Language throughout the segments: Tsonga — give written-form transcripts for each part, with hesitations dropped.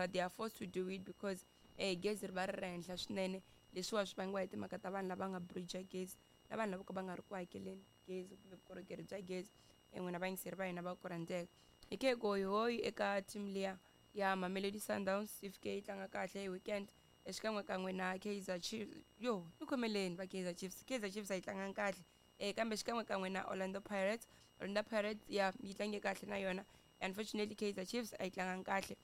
They are forced to do it because gezi ri va ri ri henhla swinene. Leswiwa swi vangiwa hi timhaka ta vanhu lava nga bridge gezi na vanhu lava ka va nga ri ku hakeleni gezi kumbe vukorhokeri bya gezi. N'wina vayingiseri va hina va ku rhandzeka, hi khe hi ku hoyihoyi eka team liya ya Mamelodi Sundowns yi fike yi tlanga kahle hi weekend xikan'wekan'we na Kaizer Chiefs. Yo ni khomeleni va Kaizer Chiefs, Kaizer Chiefs a yi tlangangi kahle kambe xikan'wekan'we na Orlando Pirates. Orlando Pirates ya yi tlange kahle na yona, unfortunately Kaizer Chiefs a yi tlangangi kahle.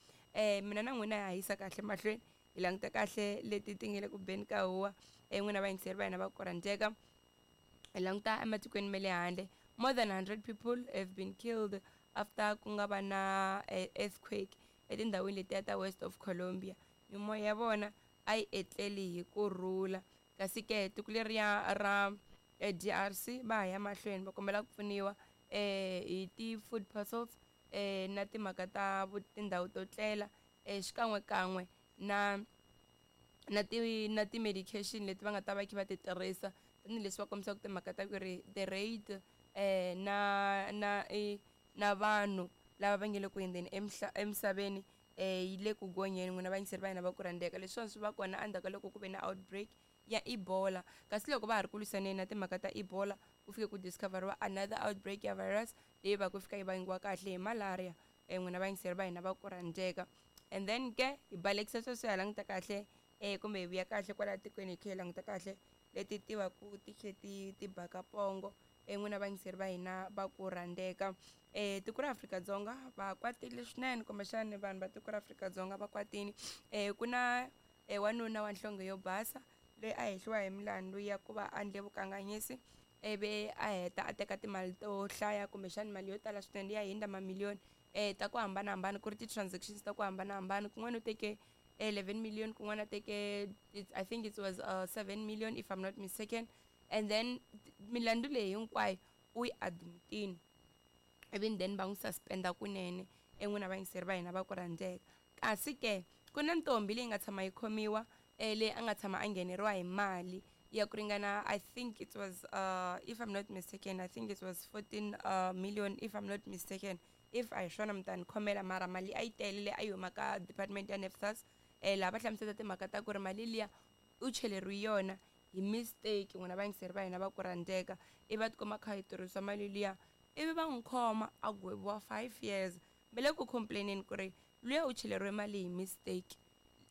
Mina na n'wina ha yisa kahle mahlweni, hi languta kahle leti ti nge le ku beni ka huwa. N'wina vayingiseri va hina va ku rhandzeka, hi languta ematikweni ma le handle. More than 100 people have been killed after ku nga va na earthquake etindhawini letiya ta west of Colombia. Mimoya ya vona a yi etleli hi ku rhula. Kasi ke tiko leriya ra DRC va ha ya mahlweni va kombela ku pfuniwa hi ti-food parcels na timhaka ta tindhawu to tlela xikan'wekan'we na ti-medication leti va nga ta va kha va ti tirhisa, tanihileswi va kombisaka timhaka ta ku ri the rate na vanhu lava va nge le ku hundzeni emisaveni yi le ku gonyeni. N'wina vayingiseri va hina va ku rhandzeka, leswiwani swi va kona endzhaku ka loko ku ve na outbreak ya Ebola. Kasi loko va ha ri ku lwisaneni na timhaka ta Ebola, ku fike ku discoveriwa another outbreak ya virus leyi va ku fika yi vangiwa kahle hi malaria. N'wina vayingiseri va hina va ku rhandzeka, and then ke hi balekisa sweswo, hi languta kahle kumbe hi vuya kahle kwala tikweni, hi kha hi languta kahle leti tivaku ti khe ti baka pongo. N'wina vayingiseri va hina va ku rhandzeka, tiko ra Afrika-Dzonga va kwatile swinene, kumbexani vanhu va tiko ra Afrika-Dzonga va kwatini. Ku na wanuna wa nhlonge yo basa loyi a hehliwa hi milandzu ya ku va a endle vukanganyisi, ivi a heta a teka timali to hlaya, kumbexani mali yo tala swinene ya hundza mamiliyoni ta ku hambanahambana, ku ri ti-transactions ta ku hambanahambana. Kun'wana u teke 11 million, kun'wana a teke I think it was 7 million, if I'm not mistaken. And then milandzu leyi hinkwayo u yi admitini, ivi then va n'wi suspenda kunene. En'wina vayingiseri va hina va ku rhandzeka, kasi ke ku na ntombi leyi nga tshama yi khomiwa leyi a nga tshama a ngheneriwa hi mali ya ku ringana, I think it was if I'm not mistaken, I think it was 14 million, if I'm not mistaken. If a hi swona mi ta ni khomela, mara mali a yi tele leyi a yi huma ka department ya NSFAS. Laha va hlamusela timhaka ta ku ri mali liya u cheleriwi yona hi mistake. N'wina vayingiseri va hina va ku rhandzeka, ivi va tikuma kha yi tirhisa mali liya, ivi va n'wi khoma a gweviwa 5 years. Va le ku complaineni ku ri luya u cheleriwe mali hi mistake,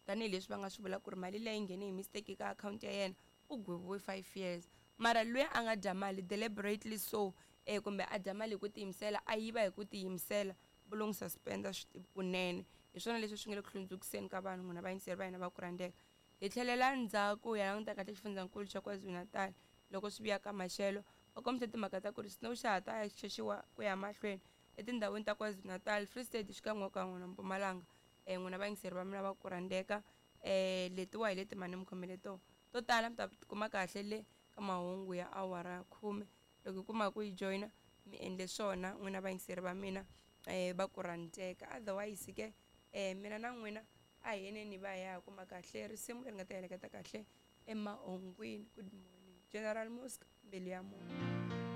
tanihileswi va nga swi vula ku ri mali leyi nghene hi mistake ka akhawunti ya yena, u gweviwe 5 years. Mara luya a nga dya mali deliberately, so kumbe a dya mali hi ku tiyimisela, a yiva hi ku tiyimisela, va lo n'wi suspenda kunene. Hi swona leswi swi nga le ku hlundzukiseni ka vanhu. N'wina vayingiseri va hina va ku rhandzeka, hi tlhelela ndzhaku hi ya languta kahle xifundzankulu xa KwaZulu-Natal. Loko swi vuya ka maxelo, va kombisa timhaka ta ku ri snow xa ha ta ya xexexiwa ku ya mahlweni etindhawini ta KwaZulu-Natal, Free State xikan'wekan'we na Mpumalanga. N'wina vayingiseri va mina va ku rhandzeka, letiwa hi leti mani mi khomele to to tala, mi ta kuma kahle le ka mahungu ya awara ya 10. Loko hi kuma ku yi joyina, mi endle swona. N'wina vayingiseri va mina va ku rhandzeka, otherwise ke mina na n'wina a hi yeneni va ya kuma kahle risimu leri nga ta heleketa kahle emahungwini. Good morning, General Musk, mbilu ya munhu.